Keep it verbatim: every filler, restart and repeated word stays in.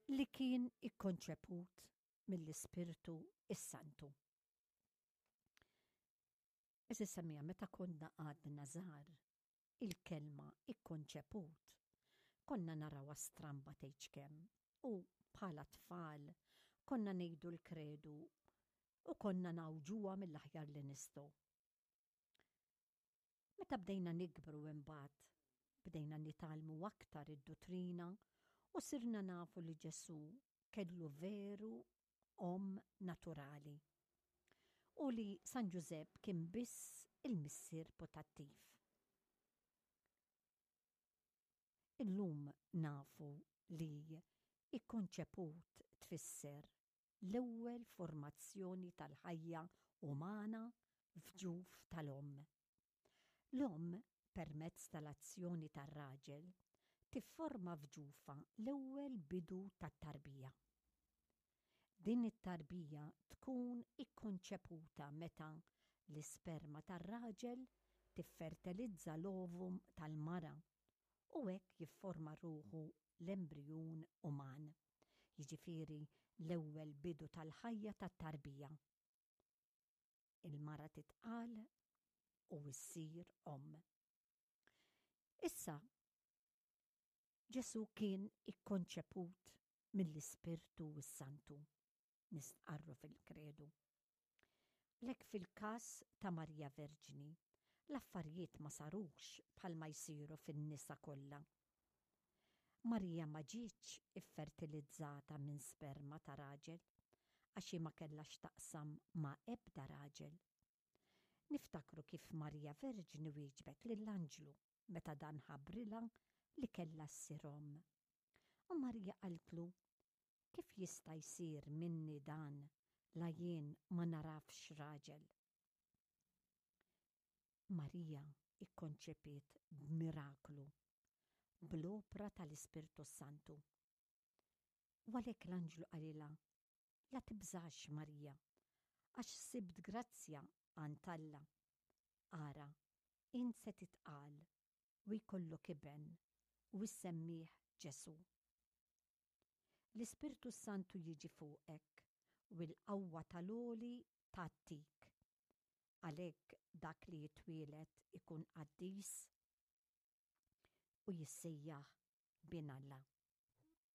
Li kien ikkonċeput mill-Ispirtu is-Santu. Għeżież semmiegħa, meta konna għadna żgħar, il-kelma "ikkonċeput" konna narawha stramba tgħidx kemm u bħala tfal konna ngħidu l-kredu u konna ngħawġuha mill-aħjar li nistgħu. Meta bdejna nikbru, imbagħad bdejna nitgħallmu aktar id-duttrina u sirna nafu li Ġesu kellu veru omm naturali u li San Ġużepp kien biss il-missier putattiv. Illum nafu li "ikkonċeput" tfisser l-ewwel formazzjoni tal-ħajja umana f'ġuf tal-omm. L-omm, permezz tal-azzjoni tar-raġel, tifforma f'ġufha l-ewwel bidu tat-tarbija. Din it-tarbija tkun ikkonċeputa meta l-isperma tar-raġel tiffertilizza l-ovum tal-mara u hekk jifforma ruħu l-embrijun uman, jiġifieri l-ewwel bidu tal-ħajja tat-tarbija. Il-mara titqal u ssir omm. Issa, Ġesu kien ikkonċeput mill-Ispirtu s-Santu, nistqarru fil-kredu. Lek fil-kas ta' Marija Verġni, l-affarijiet ma sarux bħalma jsiru fin-nisa kollha. Marija ma ġietx iffertilizzata minn sperma ta' raġel, għax ma kellha x'taqsam ma' ebda raġel. Niftakru kif Marija Verġni wieġbet lill-anġlu meta dan ħabbrilha li kellha ssir omm. U Marija qaltlu: "Kif jista' jsir minni dan la jien ma nagħrafx raġel?" Marija ikkonċepiet b'miraklu, bl-opra tal-Ispirtu Santu. U għalhekk l-anġlu qalilha: "La tibżax, Marija, għax sibt grazzja għand Alla. Ara, int se titqal u jkollok iben u issemmih Ġesu. L-Ispirtu Santu jiġi fuqek u l-qawwa tal-Għoli tgħattik. Għalhekk dak li jitwieled ikun qaddis u jissejjaħ Bin Alla."